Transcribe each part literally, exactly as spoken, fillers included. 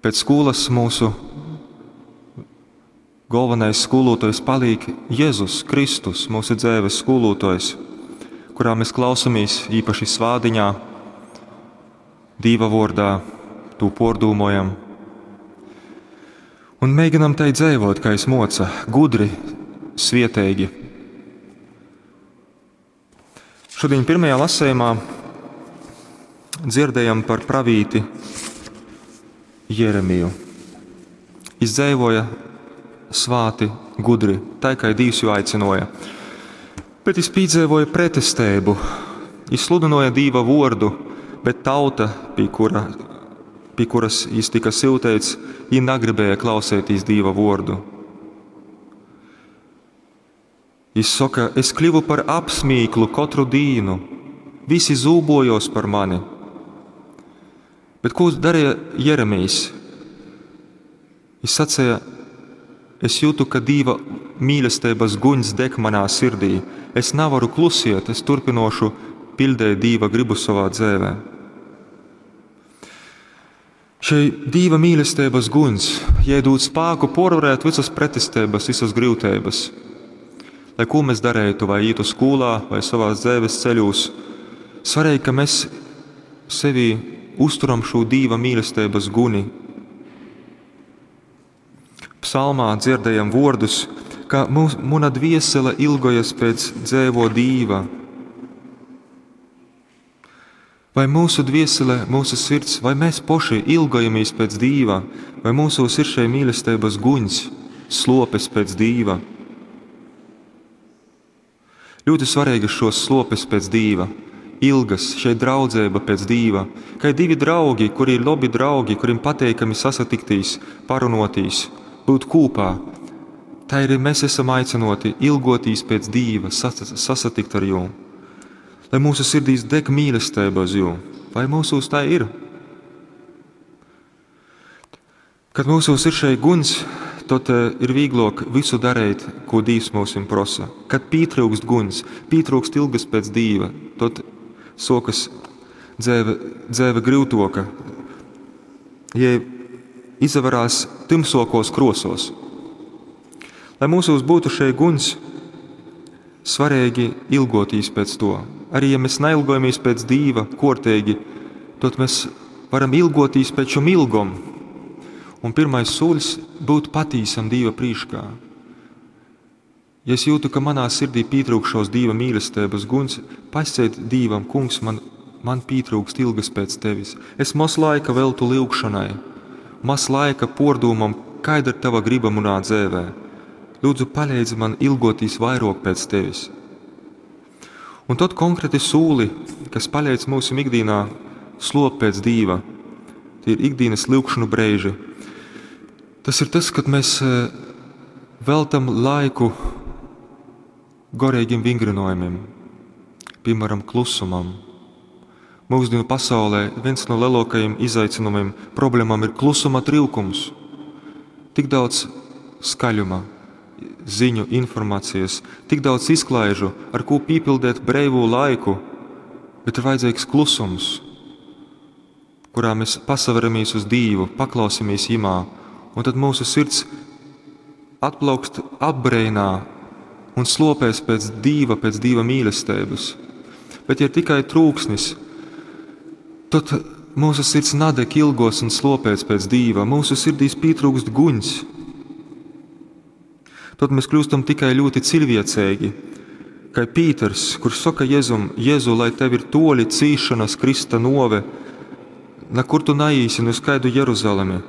Pēc skūlas mūsu galvenais skolotojs paliek Jēzus Kristus, mūsu dzēves skolotojs, kurā mēs klausamies īpaši svādiņā, Dīva vārdā, tū pordūmojam. Un mēģinam tai dzēvot, kā es moca, gudri, svietīgi. Šodien pirmajā lasējumā dzirdējam par pravīti Jeremiju. Viņš dzēvoja svāti, gudri, tā kā Dievs jū aicinoja. Bet viņš pīdzēvoja pretestēbu, viņš sludinoja Dīva vordu, bet tauta, pie, kura, pie kuras viņš tika siltēts, viņi negribēja klausēties Dīva vordu. Viņš saka, es kļuvu par apsmīklu katru dīnu, visi zūbojos par mani. Bet ko darīja Jeremijs? Viņš sacīja, es jūtu, ka Dīva mīlestības guņs deg manā sirdī. Es nevaru klusiet, es turpinošu pildēt Dīva gribu savā dzēvē. Šai Dīva mīlestības guņs iedod spēku porvarēt visas pretestības, visas grūtības. Lai ko mēs darētu, vai ītu skolā, vai savās dzēves ceļos, svarīgi, ka mēs sevi uzturam šo Dīva mīlestības guni. Psalmā dzirdējam vārdus, ka mūs, muna dviesele ilgojas pēc dzēvo Dīva. Vai mūsu dviesele, mūsu sirds, vai mēs poši ilgojamies pēc Dīva, vai mūsos ir šai mīlestības guņs, slopes pēc Dīva? Ļoti svarīgas šos slopes pēc Dīva, ilgas, šeit draudzēba pēc Dīva, kā ir divi draugi, kuri ir labi draugi, kuriem pateikami sasatiktīs, parunotīs, būt kopā. Tā ir mēs esam aicinoti ilgotīs pēc Dīva, sasatikt ar jū. Lai mūsu sirdīs deg mīlestība uz jū. Vai mūsos tā ir? Kad mūsos ir šeit guns, tad ir vieglāk visu darīt, ko Dievs mums prasa. Kad pietrūkst guns, pietrūkst ilgas pēc Dieva, tad sokas dzēve, dzēve grūtoka, ja izavarās tumsokos krosos. Lai mūsos būtu šeit guns, svarīgi ilgotīs pēc to. Arī ja mēs neilgojamies pēc Dīva kortīgi, tad mēs varam ilgotīs pēc šum ilgom. Un pirmais solis būt patīsam Dīva prīškā. Ja es jūtu, ka manā sirdī pietrūkšos Dīva mīlestības guns, pasciet Dīvam, kungs, man, man pietrūkst ilgas pēc tevis. Es maz laika veltu lūgšanai, maz laika pordūmam, kāda ir tava griba manā dzēvē. Lūdzu, palīdzi man ilgotīs vairāk pēc tevis. Un tad konkrēti sūli, kas palīdz mūsu ikdienā slop pēc Dīva, tie ir ikdienas lūgšanu brēži. Tas ir tas, kad mēs veltam laiku gorīgiem vingrinojumiem, piemēram, klusumam. Mūsdienu pasaulē viens no lielākajiem izaicinājumiem, problēmām ir klusuma trūkums. Tik daudz skaļuma, ziņu, informācijas, tik daudz izklaižu, ar ko piepildīt brīvo laiku, bet ir vajadzīgs klusums, kurā mēs pasaveramies uz Dievu, paklausamies Jimā, un tad mūsu sirds atplaukst apbreinā un slopēs pēc Dieva, pēc Dieva mīlestības. Bet ja ir tikai trūksnis, tad mūsu sirds nadeg ilgos un slopēs pēc Dieva, mūsu sirdīs pietrūkst guņs. Tad mēs kļūstam tikai ļoti cilvēcīgi, kā Pīters, kurš saka Jēzum, Jēzu, lai tev ir toļi cīšanas Krista nove, na kur tu naīsi, nu uz kaidu Jeruzalemi.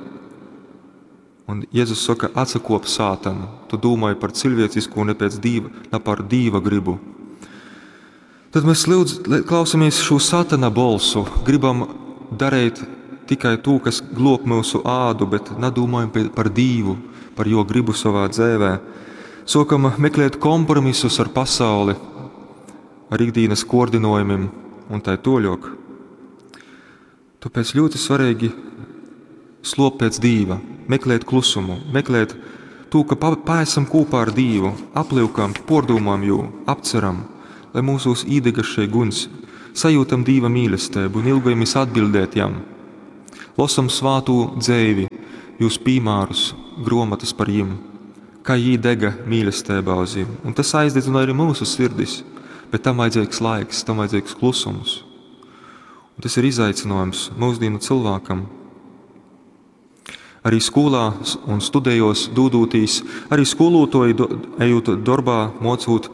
Un Jēzus saka, atsakop sātanu, tu domāji par cilvēcisku un ne pēc Dieva, ne par Dieva gribu. Tad mēs lūdz, klausamies šo satana bolsu, gribam darīt tikai to, kas glob mūsu ādu, bet nedomājam par Dievu, par jo gribu savā dzēvē. Sokam meklēt kompromisus ar pasauli, ar ikdienas koordinojumiem un tai toļok. Tāpēc ļoti svarīgi slop pēc Dieva, meklēt klusumu, meklēt to, ka paesam kopā ar Dievu, apliekam, pordūmām jū, apceram, lai mūsos īdegas šai guns, sajūtam Dieva mīlestību un ilgojamies atbildēt jam. Losam svātu dzēvi, jūs pīmārus, gruomotas par jim, kā jī dega mīlestībā uz jim. Un tas aizdedzināja arī mūsu sirdis, bet tam vajadzīgs laiks, tam vajadzīgs klusums. Un tas ir izaicinājums mūsdienu cilvēkam. Arī skolā un studējos dūdūtīs, arī skolotoji do, ejot darbā, mocūt,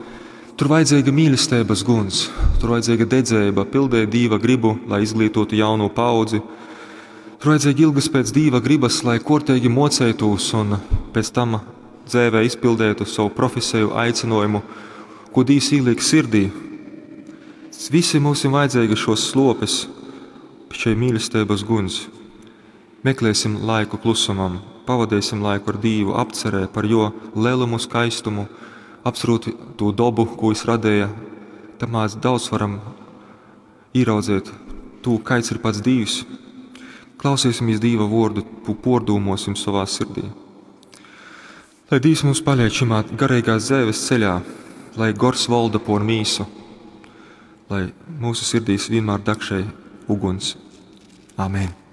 tur vajadzīga mīlestības guns, tur vajadzīga dedzēba, pildēt Dīva gribu, lai izglītotu jaunu paudzi. Tur vajadzīga ilgas pēc Dīva gribas, lai kortīgi mocētos un pēc tam dzēvē izpildētu savu profesiju, aicinājumu, ko Dīvs ieliek sirdī. Visi mums ir vajadzīga šos slopes, šai mīlestības guns. Meklēsim laiku klusumam, pavadīsim laiku ar Dīvu, apcerē par jo lielumu, skaistumu, apcerot to dobu, ko viņš radīja. Tam mēs daudz varam ieraudzīt to, kāds ir pats Dīvs. Klausīsimies Dīva vārdu, pordūmosim savā sirdī. Lai Dīvs mums paliek šimā garīgās dzēves ceļā, lai gors valda por mīsu, lai mūsu sirdīs vienmēr deg šai uguns. Amen.